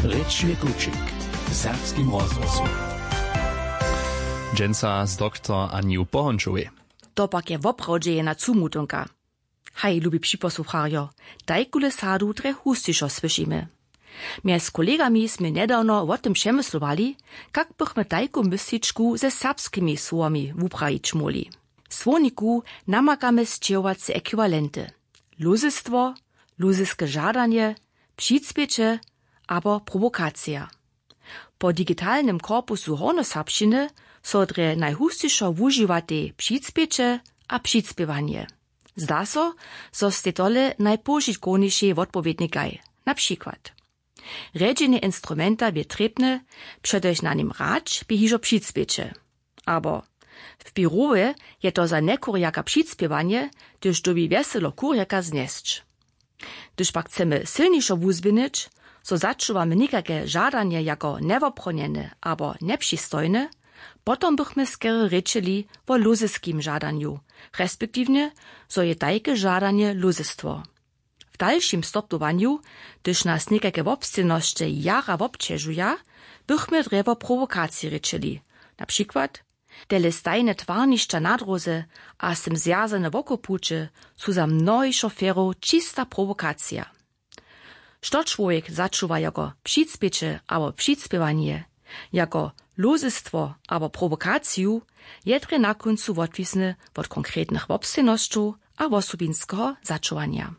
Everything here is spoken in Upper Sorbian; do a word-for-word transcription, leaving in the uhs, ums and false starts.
Rěčny kućik w serbskim rozhłosu. Dźensa z doktor Anju Pohončowej. To pak je woprawdźe jedna cumutonka. Haj, lubi připosłucharjo, tajkule sadu drje hustišo słyšimy. Mjez kolegami smy njedawno wo tym přemyslowali, kak bychmy tajku mysličku ze serbskimi słowami wuprajić móhli. W słowniku namakamy sćěhowace ekwiwalenty: lózestwo, lózeske žadanje, přicpěće abo prowokacija. Po digitalnym korpusu hornjoserbšćiny so drje najhustišo wužiwatej přicpěće a přicpěwanje. Zda so, zo stej tole najpožitkownišej wotpowědnikaj. Na přikład: rjedźenje instrumenta bě trěbne, přetož na nim hrać bě hižo přicpěće. Abo: w běrowje je to za njekurjaka přicpěwanje, hdyž dyrbi wjeselo kurjaka znjesć. Hdyž pak chcemy sylnišo wuzběhnyć, zo začuwamy někajke žadanje jako njewophronjene abo njepřistojne, potom bychmy skerje rěčeli wo lózeskim žadanju, respektiwnje zo je tajke žadanje lózestwo. W dalšim stopnjowanju, hdyž nas někajke wobsćěnosće jara wobćežuja, bychmy drje wo prowokaciji rěčeli, na přikład: tele stajne twarnišća na dróze a z tym zwjazane wokopuće su za mnohich šoferow čista prowokacija. Što čłowjek začuwa jako přicpěće abo přicpěwanje, jako lózestwo abo prowokaciju, je drje na kóncu wotwisne wot konkretnych wobsćěnosćow a wosobinskeho začuwanja.